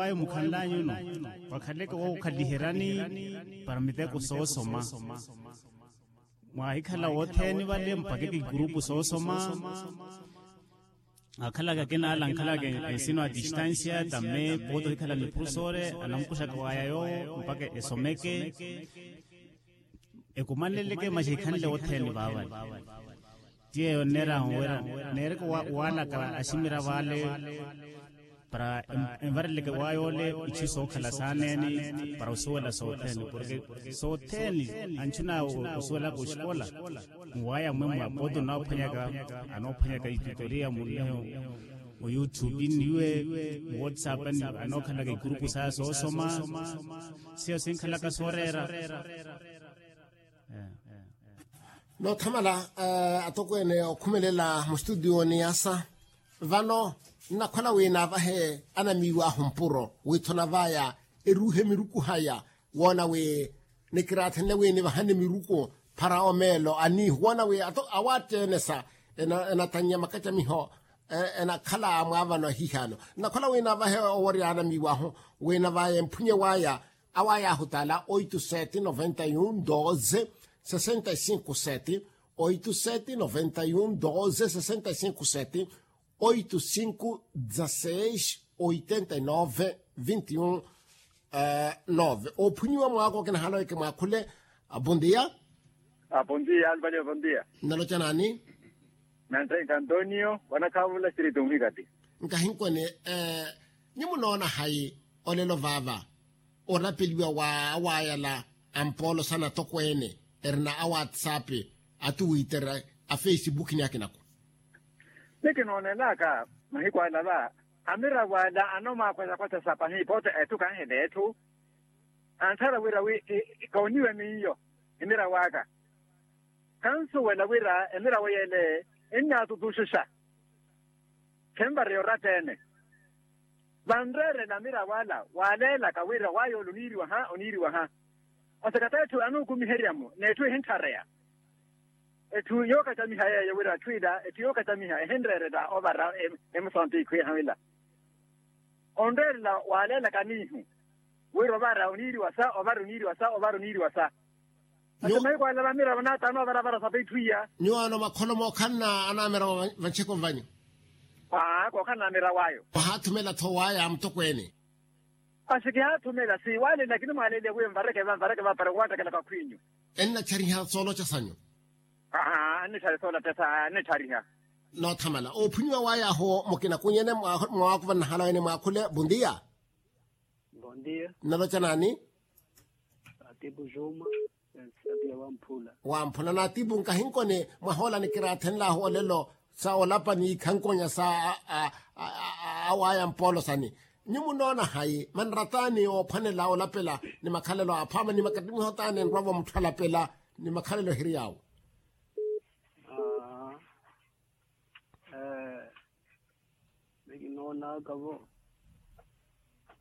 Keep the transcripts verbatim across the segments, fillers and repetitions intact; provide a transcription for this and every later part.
waya mukhanlanyuno, wakhaleke wookhaliheryani para miteko soosoma. Mwaahikhala wothene vale mpakeke ikurupu soosoma. Akhalaka akina ala ankhalaka ensino a distancia tamme pooti ohikhala niphuru soore, anamukuxaka waya yoowo mpaka esomeke. Ekumanleleke masi ehikhanle wothene vaavale. Ti yeeyo nneerahu wira neereke waalaka aximiravo ale para envareleke waya ole itthu sookhala saaneeni para osuwela sothene porke sothene anchuna osuwelaka oxikola nwaya mwemwa pooti onoophwanyaka anoophwanyaka itutoriya munneho mu youtube nniwe mu whatsapp anookhalaka ikurupu saya soosoma. Siyo sinkhalaka sooreera. Noothamala atokweene okhumelela mustutiyoni yasa vano nnakhwela wi naavahe anamiiw'ahu mpuro witthuna vaya eruuhe miruku haya woona wi nikiraathenle wi nivahane miruku phara omeelo aniihu woona wi awatteene sa enatannya makacamiho enakhala mwaavano ahihano nnakhwela wi naavahe oworya anamiiw'ahu wi navaya emphunye waya away'ahu tala oito sete noventa e um doze sessenta e cinco sete oito sete noventa e um doze sessenta e cinco sete oito cinco dezasseis oitenta e nove vinte e um nove ophunyiwa mwaako kinahala weke mwaakhule. Bondia. Bondia alvalio bondia. Nnaloca naani? Nanthenka antonio wanakhaavula siriti onhikati. Nkahinkoni nyumu noona hayi olelo vaava orapeliwa wa awaayala ampoolo sana tokweene erina a whatsapp a twitter a facebook ni akinako. Ni kinoonelaka mahiku ala va amiravo ala anomaakhwesakhosa pahi pooti etthu kanhele etthu anthara wira wi kooniwe miyo emiravo aka. Khansuwela wira emiravo yele ennaatutuxexa khenvareya oratta-ene. Vanreerela amiravo ala waaleelaka wira waya ole oniiriwa ha oniiriwa ha. Asekata etthu anuukumiherya-mo n'etthu ehinthareya. Etthu yookacamiha yeeyo wira atthu ila etthu yookacamiha ehinreerela ovara emusantiikhu eha wila onreerela waaleelaka aniihu wira ovara oniiriwa sa ovara oniiriwa sa ovara oniiriwa sa. Ati mahiku ala vamiravo naataano ovaravara sapi etthu iya. Nyuwaano makholomo okhanna anamiravo vancheko vanyu. Aa kookhanna amiravo ayo. Mwahaathumela tho waya mutokweene. Asi kihaathumela siiwalele lakini mwaaleliya wiyo mvareke va mvareke va para owaattakela kakhwiinyu. Ennatthariha sooloca sanyu. Aa annitthari sooloca sa annitthariha. Noothamala oophunyiwa waya ahu mukina kunyene mwaakuva nnahala wene mwaakhule bondia. Bondia. Nnaloca naani? Atipu juma. Wamphula naatipu nkahinkoni mwahoola nikiraathenlahu olelo sa olapa ni ikhankonya sa awaya mpoolo sani. Nyumu noona hayi manrataani oophwanela olapela ni makhalelo aphama ni makatimiho taani enrwavo mutthu alapela ni makhalelo ehiri yaawo. Ee. Ni kinoonaka vo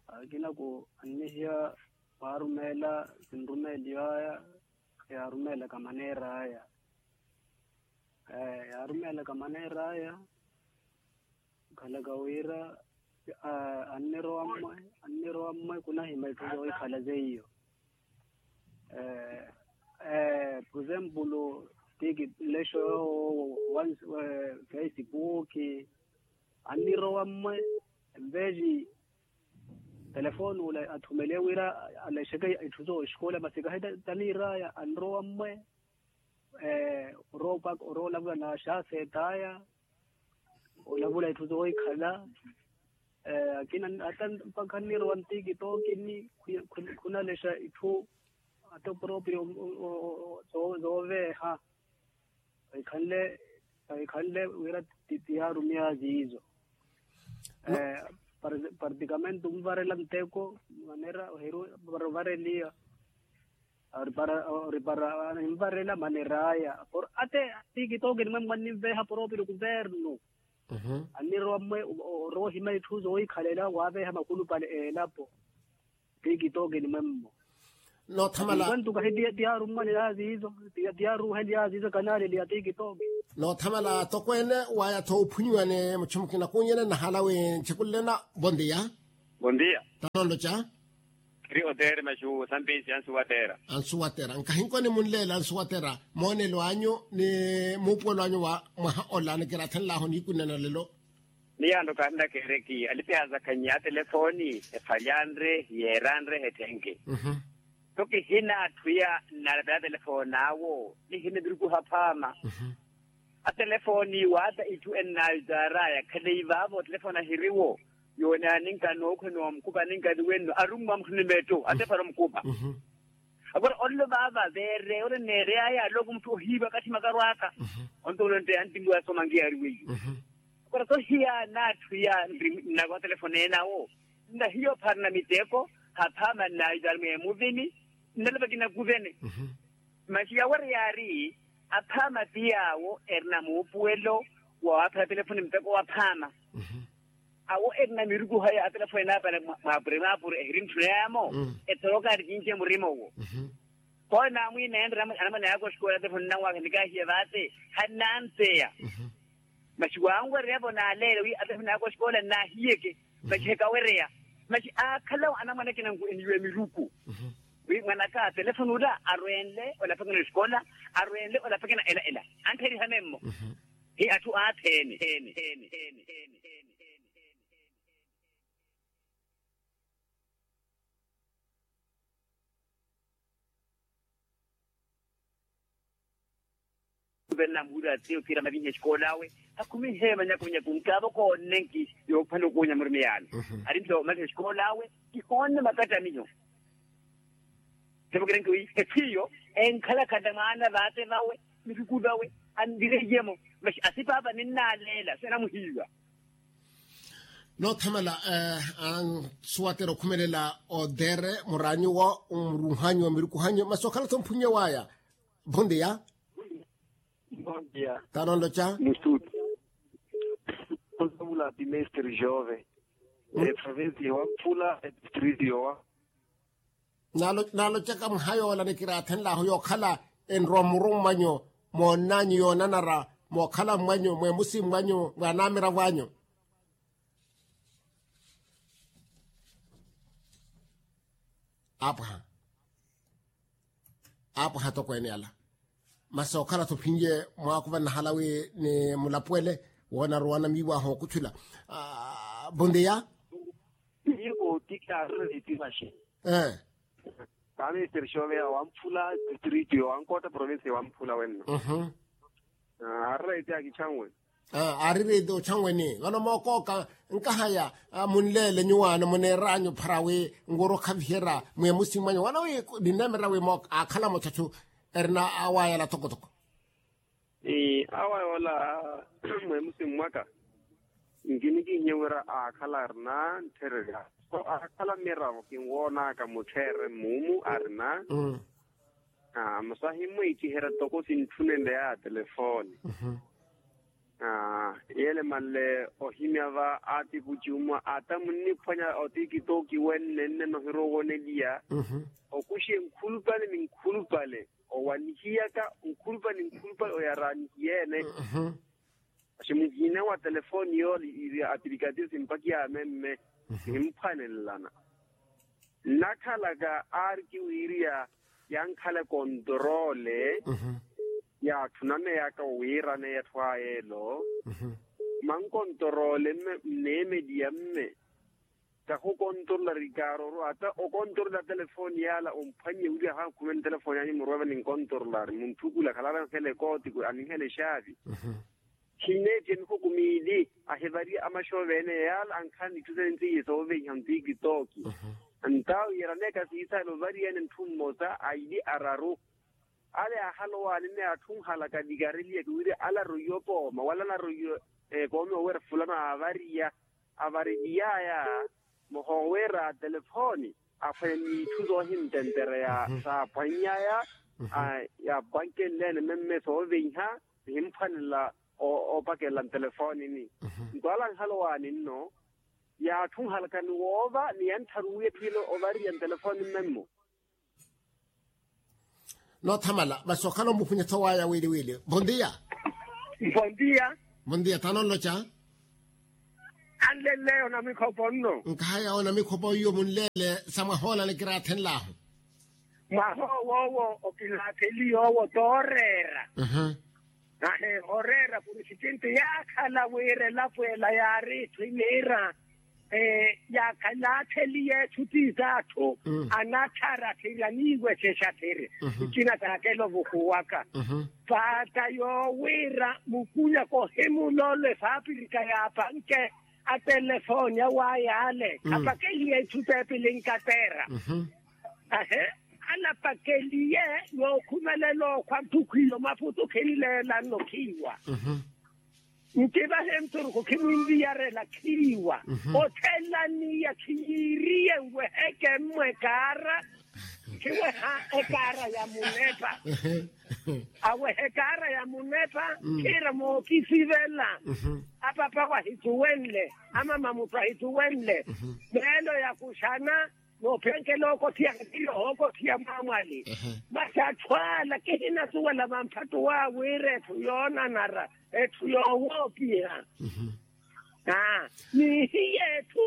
akina ku annihiya waarumeela sinrumeeliwaya yaarumeelaka maneera aya. Ee yaarumeelaka maneera aya. Khalaka wira annirowa mmwe annirowa mmwe khunahima itthu zohikhala zeiyo. Por exemplo tiki nlexo yoowo facebook annirowa mmwe envexi telefoni ula athumeliye wira alexeke itthu zooxikola masi kahi taniiraya anrowa mmwe. Orowa opaka orowa olavula na xaseetaya olavula itthu zoohikhala. Akina ata mpakha nnirowa ntikitokini khunalexa itthu ata proprio zooveeha. Ekhanle ekhanle wira tiyaarumiya ziizo. Particamente onvarela nteko manera ohiru para ovareliya. Ori para ori para ninvarela maneraya por ate tikitokini mwe mwanninveha proprio kuvernu. Annirowa mmwe orowa ohima itthu zoohikhalela waaveha makhulupale elapo. Tikitokini mwe mmo. Noothamala. Kwantu kahi tiyaarummwani yaaziizo tiyaaruuheli yaaziizo kanaaleli ya tikitoki. Noothamala tokweene waya-tho ophunyiwa ni muchimukina kunyene nnahala wi nchikulelena. Bondia. Bondia. Tanooloca. Kiri oteere maxu sampisi ansuwatera. Ansuwatera nkahinkoni munleela ansuwatera. Moonelo anyu ni muupuwelo anyu wa mwaha ola nikiraathenlahu niikunena lelo. Ni yanto kaahina keereki alipiha zakhanyi a telefoni. Ephalyanre yeeranre ethenke. Nto kihina atthu iya nnalapela telefoni awo nihina eviruku haphaama. Atelefoni waata itthu ennaayo itaaraya khaleyi vaavo telefoni ahiriwo. Yoone aninka nookhwe noomukupa aninka ni wenno arummwa mutthu ni metto ate para omukupa. Agora ollo vaava veere ore neereyaya alooko mutthu ohiiva kathi makaru aka. Ontoolo ntte antimbuwa somankiya ari weiyo. Agora sohiya naatthu iya nnakwa telefoni enawo. Nna hiyo pharina miteko haphaama nnaayo itaari mweemuvini. Nnalapa kinakuvene. Masi yawo ori yaari aphaama ti yaawo erina muupuwelo wa waaphera telefoni muteko waphaama. Awo erina miruku haya atelefoni naapale mwaapure mwaapure ehiri ntthuna yaamo. Etoroka ari kinci emurima owo. Kooyo naamwiina enre anamwane yaaka oxikoola atelefoni nnanwaaka nikaahiye vaate. Hannanteya. Masi waanwereya vo naaleele wi atelefoni yaaka oxikoola nnaahiyeke. Masi hekawereya. Masi aakhala anamwane akina nku eniiwe miruku. Wi mwanaka telefoni ula arwenle olapakana esikola arwenle olapakana ela ela. Anttheriha memmo. Hi atthu aattheene. Muvenna muhula atiyo kira mavinya esikoola awe. Akhumihe manyakunyaku nkaavo koonnenki yoophana okuunya murimi yaani. Ari nto mavinya esikoola awe kihoonne makattamiho. Sevokirenki wi efiyo enkhalakhatta mwaana vaate vawe miruku vawe anvireiye-mo. Masi asipaapa ninnaaleela senamuhiiwa. Noothamala ansuwatera okhumelela otere muraanyu wo murunhanyu wa mirukuhanyu masi okhala-tho mphunye waya. Bondia. Bondia. Tanooloca mustuti. Onsamula ati mestre jove. Eprovinsi yowa phula etistritu yowa. Naalocaka mwaha yoola nikiraathenlahu yookhala enrowa muru mmwanyu moonnanyu yoonanara mookhala mmwanyu mweemusi mmwanyu mwaanamiravo anyu. Aapwaha. Aapwaha atokweene ala. Masi okhala-tho ophinye mwaakuva nnahala wi ni mulapuwele woona aruwana miiwaha okutthula. Bondia. Miyo kootikaaru etipaxe. Ee. Kaaminisiteri xooveya wamphula district yowankootta provinsi wamphula wenno. Aarira eti akichanwe. Aarira eti ochanweni vano mookooka nkahaya. Munleele nyuwaano muneeranyu phara wi nwoori okhaviherya mweemusi mwanyu vano wi ninneemerya wi aakhala muchachu erina awayala tokotoko. Awa yoola mweemusi mwaka nkinikihiye wira aakhala arina nthererya so aakhala miravo kinwoonaka muttherere mmumu arina. Masi ahimmwiikiherya toko sintthunenle ya telefoni. Yeele manle ohimya va aatikuci umwa ata munniphwanya otikitoki wennenne nohirwa owoneliya okuxiye nkhulupale ni nkhulupale owanihiyaka nkhulupale ni nkhulupale oyara anihiyeene. Masi muhina wa telefoni yoole iri apilikatiyo simpakiyamemme. Simphwanelelana nnakhalaka aari kiwiiriya yankhala ekontorole. Yaatthu nameyaka owiirana eyatthu aya elo mankontorole mme mneemeliya mme. Kahukontorola rikaaroro ata okontorola telefoni yaala omphwannye wira ahakhumene telefoni anyu muruweve ninkontorola ari muntthukula khalala anhela ekooti aninhela exaavi. Khinneettiya mihuku miili ahivariya amaxoovene yaala ankhala nitthu sene ntiiye sooveiha ntikitoki. Ntawo yeraneka siisaala ovariyene ntthu mmosa aili araru. Ale ahala owaani nne atthu nhalaka nikareliyeke wira ala aroiye opooma wala ala aroiye ekoome owira fulano aavariya. Avareliyaya muhoowira telefoni aphwanya n'itthu soohintentereya saapwannyaya. Yaapwankenleene memme sooveiha nihimphwanela opakelela ntelefoni-ni. Nto ala nhala owaani nno yaatthu nhalaka ni woova ni yanttharu wi etthu ile ovariya ntelefoni mmemmo. Noothamala masi okhala omuphunye-tho waya wiili wiili. Bondia. Bondia. Bondia thaana onloca. Anleleyo na mikhopo nno. Nkahaya onamikhopa oiwo munleele sa mwaha ola nikiraathenlahu. Mwaha owo owo okilaatheli yoowo tooreera. Ahe oreera purisitinti yaakhala wira elapo ela yaari itthu iniira. Yaakhalaatheliye etthu tiiza atthu anattharathirya niiwexexa thiri. Ikina taakela ovuhuwaka paata yoowiira mukunyaka ohimuloolo efaapirika yaapanke. Atelefooni awayaale apakeliye itthu teepili nkateera. Ahe anapakeliye yookhumelela okhwa ntthukhu iyo maputu khinleela nno khiiwa. Ntivahe nturuku khimwinviyarela khiiwa. Othelaniya khiyiiriye nweheke mmwe ekaara. Khiweha ekaara ya munepa. Aweha ekaara ya munepa khiira mookisivela. Apapa wahithuwenle amama mutthu ahithuwenle. Meelo ya kuxana noophenkela ookothiya khakhiri ohookothiya mwaamwali. Masi atthu ala kihinasuwela vamphattu waawiira etthu yoonanara etthu yoowoopiha. Ni hiya etthu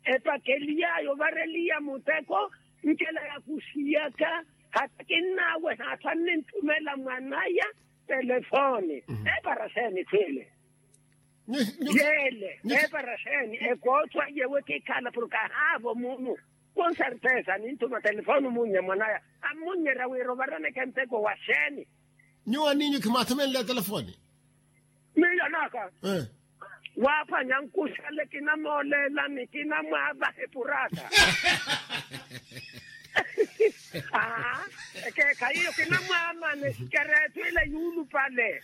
epakeliy'aya ovareliya muteko nkela yakuxiyaka. Hata kinnaaweha atthu anninthumela mwan'aya telefooni. Epara xeeni etthu ile? Yeele epara xeeni? Ekootho aiye wi kikhala porke ahaavo munu. Konsertesa ninthuma telefooni omunnye mwan'aya ammunnyeerya wira ovaraneke nteko wa xeeni? Nyuwo aninyu khimwaathumenle telefooni? Miyo naka. Waaphwanya nkuxale kinamooleelani kinamwaavaha epuraata. Aa ekeekhayi iyo kinamwaamana esikereeto ila yuulupale.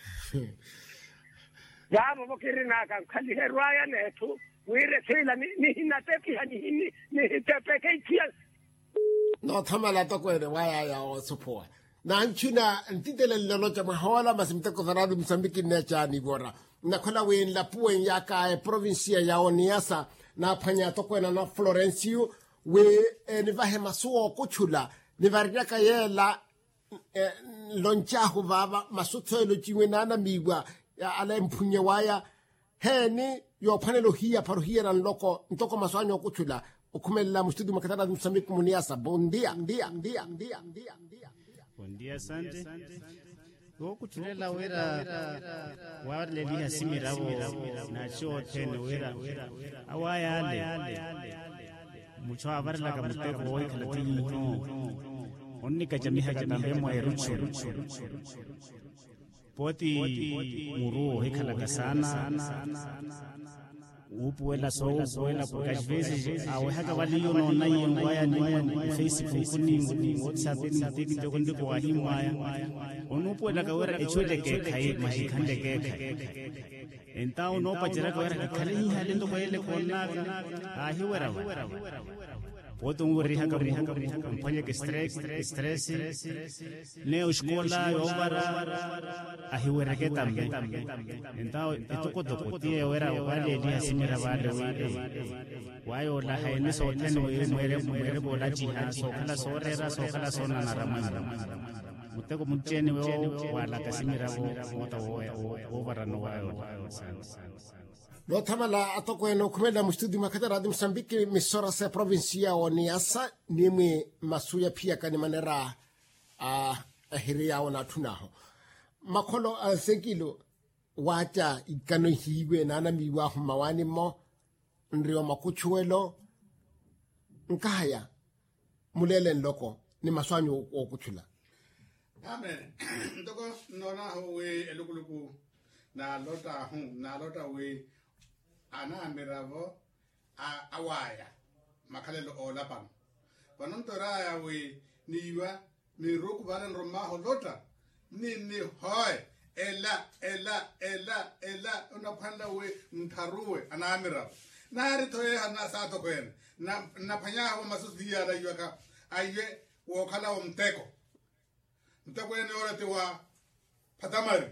Vaavo-vo kirinaka nkhaliherw'aya n'etthu wira etthu ila nihinatepiha nihitepeke itthu ya. Noothamala atokweene waya aya oosuphuwa. Nanchuna ntitelenle oloca mwahoola masi muteko sa raati musambiki nneecaani ivora. Nnakhola wi nlapuwe nyaka eprovinsiya ya oniyasa naaphwanya atokweene ana florensiyu wi enivahe masu ookuchula nivariryaka yeela. Nloncahu vaava masu tho elociwe naanamiiwa ala emphunnye waya. Heeni yoophwanela ohiya para ohiyana nloko ntoko masu anyu okuchula okhumelela mustudi mwa katarazi musamiku muniasa bondia ndia ndia ndia ndia. Bondia sante. Wookuchulela wira wareleliha simiravo naci othene wira awayaale. Muchu avarelaka muteko woohikhala tiiho. Onnikacamihaka tambe mwa eruchu. Pooti muru ohikhalaka saana. Wuupuwela soowupuwela porke as vezes awehaka vale iyo noonaiye nwaya ni mfacebook ni whatsapp ni tiktok ndiko wahimmwaya. Onuupuwelaka wira echu ela ekeekhayi masi khanle ekeekhayi. Entawo onoopaceryaka wira kikhale hihale ntoko yele koonaka. Aahiweravo. Pooti onwerihaka mphwanyeke stress. Neyo oxikola yoovara ahiwereke tambe. Entawo etokotoko tiye wira valeeliha simira vale wi waya olaha eni sothene wi mweereke olaciha sookhala sooreera sookhala soonanara mwanyu. Muteko mucci-ene wo waalaka simiravo moota woovarana owaya ola. Noothamala atokweene okhumelela mustudi mwa khataraati musambiki misora sa eprovinsi ya oniyasa ni mwi masu yaphiyaka ni manera a ehiri yaawo naatthun'ahu. Makholo a nsekilu waaca ikano ihiiwe naanamiiw'ahu mmawaani-mo nri wa makuchuwelo. Nkahaya muleele nloko ni masu anyu ookuchula. Amen. Ntoko nnoon'ahu wi elukuluku naalott'ahu naalotta wi anaamiravo awaya makhalelo oolapano. Vano ntwer'aya wi niiwa miruku vale nrumm'ahu olotta ni nihoye ela ela ela ela onaphwanela wi nttharuwe anaamiravo. Naari-tho yeeha nnasaathokhweene nnaphwany'ahu masu siiya alaiwaka aiwe wookhala wo muteko. Muteko ene yoole ti wa phatamari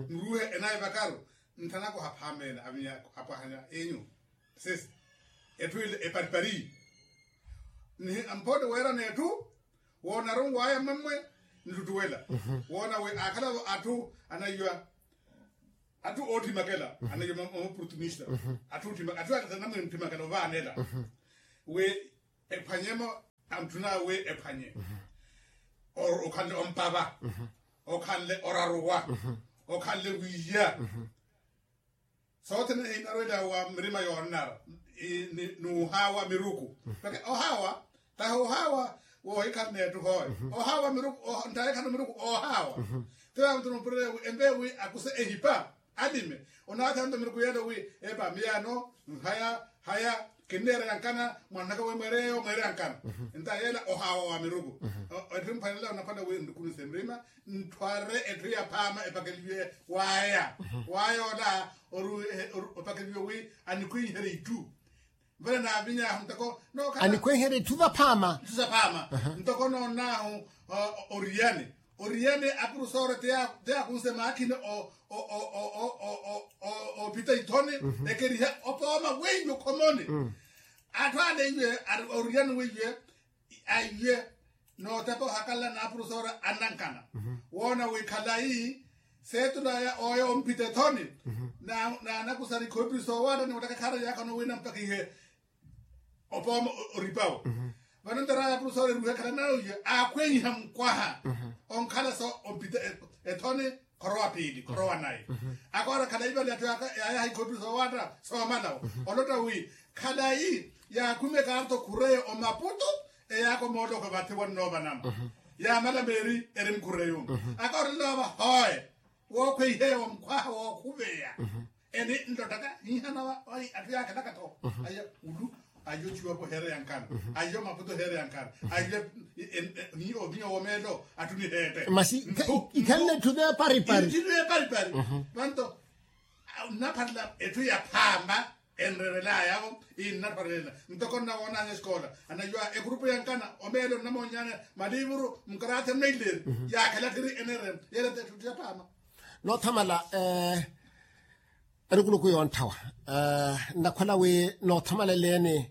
nruuhe enayi vakaru. Nthanaka ohaphameela avinya apwahanya enyu sesi etthu ile eparipari. Mphotte weerana etthu woona arunw'aya mmammwe nttuttuwela woona wi aakhalavo atthu anaiwa. atthu oottimakela, anaiyo ma oportunista. Atthu attisana namwene oottimakela ovaanela wi ephwanyemo, antthuna wi ephwanye. Okhanle ompava, okhanle oraruwa, okhanle wiiya. Sothene ehinarwela wa mirima yoonnara ni ohaawa miruku. Peke ohaawa tahi ohaawa woohikhala n'etthu hooyo. Ohaawa miruku, ntahikhana miruku ohaawa. Tiwa muthu numpurerya wi empeya wi akuse ehipa alime. Onaathanto miruku yeela wi epa miyaano nhaya haya kinneera yankana. Mwanaka wi mweere yeeyo mweere yankana. Nta yeela ohaawa wa miruku. Etthu mphalala onaphala wi nrukunise mrima nthware etthu ya phaama epakeliwe waya. Waya ola opakeliwe wi anikhwinherye itthu. Vale naaviny'ahu ntoko anikhwinherye itthu vaphaama. Itthu za phaama. Ntoko noon'ahu oriyani. Oriyani apurusoore ti yaakunse maakhini oopita ithoni ekeriha opooma weiyo khomoni. Atthu ale iwe oriyani weiye aiye nootepa ohakalla n'apurusoore anankana. Woona wi khalayi seetulaya oya ompita ethoni. Naanakusari khoopirisoowatta ni ottaka khaara yaakhana wi nampakihe opooma oripawo. Vano ntaraya apurusoore eruhekhala nayo iye aakhweiha mukwaha onkhala so ompita ethoni. Khorowa piili khorowa nayi. Akoora khalayi vale atthu yaayaha ikhoopirisoowatta soomalawo olotta wi khalayi yaakhwime kaarto khureyo omaputu. Eyaaka omoolokho vathi wannoovanama yaamala meeri eri mukhureyo. Akoorela ova hooye wookhweiheya wa mukhwaha wookhuveya. Eni nlottaka hiihana va atthu yaakhelaka-tho. Aya ulu ayo ciwapo heere yankana. Ayo maputo heere yankana. Ayo ovinya womeelo atthu niheette. Masi ikhalle etthu neeparipari. Vanto nnapharela etthu ya phaama enrerelayavo. Innaparela ntoko nnawoonanya esikoola anayuwa ekurupu yankana omeelo nnamoonyanya malivuru mukaraatha mmeileni. Yaakhala khiri enerela yeela etthu ya phaama. Noothamala erukuluku yoonthawa nnakhwela wi noothamaleleni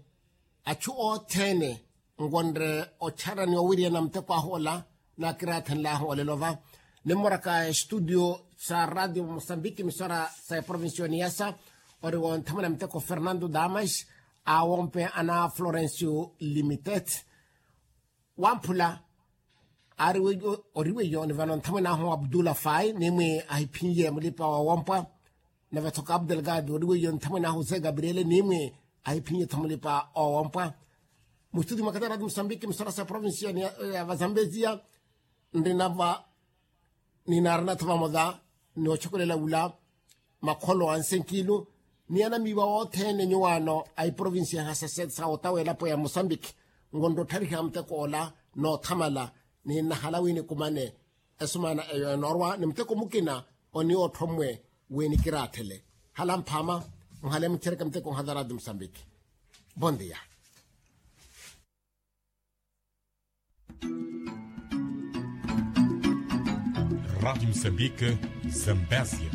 achu othene nkonre ocharani owiriyana muteko ahu ola. Nakiraathenlahu olelo va nimmoraka estudio sa radio mosambiki misora sa eprovincia oniyasa ori wonthamwena muteko fernando damas awompe ana florencio limited wamphula ari weiyo ori weiyo ni vano nthamwene ahu abdullah fai nimwi ahiphinye mulipa wa wompwa. Nave tho kapu delgado ori weiyo nthamwene ahu jose gabriele nimwi ahiphinye tho mulipa wa wompwa. Mustudi mwa katara di mosambiki msora sa provincia ya vazambezia nrinava ninaarina tho vamoja ni ochokolela wula makholo a nsenkilu ni anamiiwa othene nyuwaano a iprovincia ya hasasete sa otawa elapo ya mosambiki nkonrottharihya muteko ola noothamala ni nnahala wi nikumane. Esumaana eyo enoorwa ni muteko mukina oniya otthomwe wi nikiraathele hala mphaama. Nhale muchereke muteko nhazarati mosambiki. Bon dia. Rádio Moçambique, Zambésia.